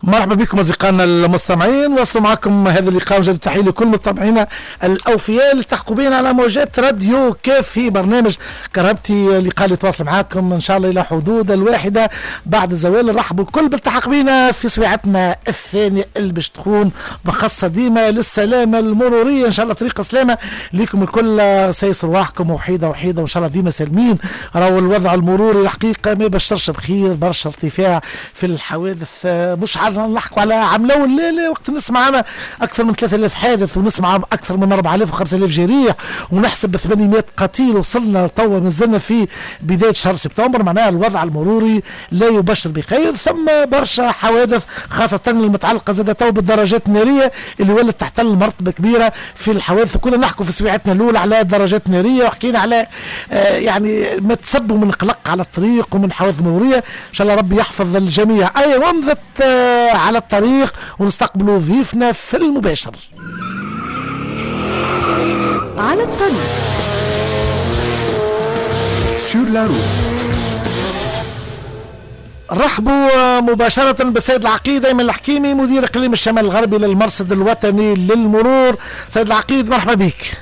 مرحبا بكم اصدقائنا المستمعين، وصلوا معكم هذا اللقاء وجد التحية لكل متابعينا الاوفياء اللي التحقوا بنا على موجات راديو كاف في برنامج كرهبتي، لقاء اللي يتواصل معكم ان شاء الله الى حدود 1 بعد الزوال. نرحبوا الكل بالتحق بنا في سويعتنا الثانية اللي باش تكون مخصصة ديما للسلامة المروريه. ان شاء الله طريق سلامه لكم الكل، سايسوا رواحكم وحيده وحيده، وان شاء الله ديما سالمين. راهو الوضع المروري الحقيقة ما يبشرش بخير، برشا ارتفاع في الحوادث، مش نحكوا على عام الاول، لا لا، وقت نسمع انا اكثر من 3000 حادث ونسمع اكثر من 4000 و5000 جريح ونحسب 800 قتيل، وصلنا توا مازلنا في بداية شهر سبتمبر، معناها الوضع المروري لا يبشر بخير. ثم برشا حوادث خاصة المتعلقة زاد تو بالدراجات النارية اللي ولت تحتل مرتبه كبيرة في الحوادث. كنا نحكوا في سويعتنا الاولى على الدراجات النارية وحكينا على يعني ما تسبوا من قلق على الطريق ومن حوادث مروريه. ان شاء الله ربي يحفظ الجميع. اي ومضة على الطريق ونستقبلوا ضيفنا في المباشر. على الطريق. Sur la route. رحبوا مباشرة بالسيد العقيد أيمن الحكيمي، مدير إقليم الشمال الغربي للمرصد الوطني للمرور. سيد العقيد مرحبا بك.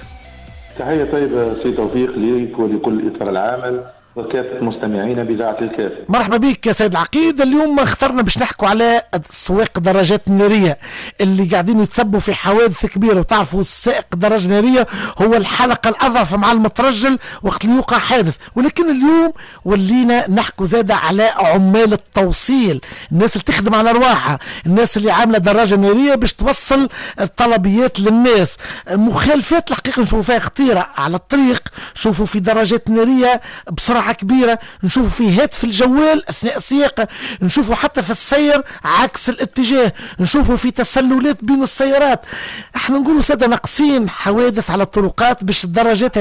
تحية طيبة سي توفيق ليك ولكل إطار العمل وكافة مستمعين بإذاعة الكاف. مرحبا بك يا سيد العقيد. اليوم اخترنا باش نحكوا على سواق الدراجات النارية اللي قاعدين يتسبوا في حوادث كبيرة، وتعرفوا السائق الدراجة النارية هو الحلقة الأضعف مع المترجل وقت اللي يوقع حادث. ولكن اليوم ولينا نحكوا زادة على عمال التوصيل، الناس اللي تخدم على أرواحها، الناس اللي عاملة دراجة نارية باش توصل الطلبيات للناس. مخالفات الحقيقة نشوفوا فيها خطيرة على الطريق، نشوفوا في دراجات نارية بسرعة كبيرة، نشوفوا في هاتف الجوال أثناء السياقة، نشوفوا حتى في السير عكس الاتجاه، نشوفوا في تسللات بين السيارات. احنا نقولوا سادة ناقصين حوادث على الطرقات باش الدراجات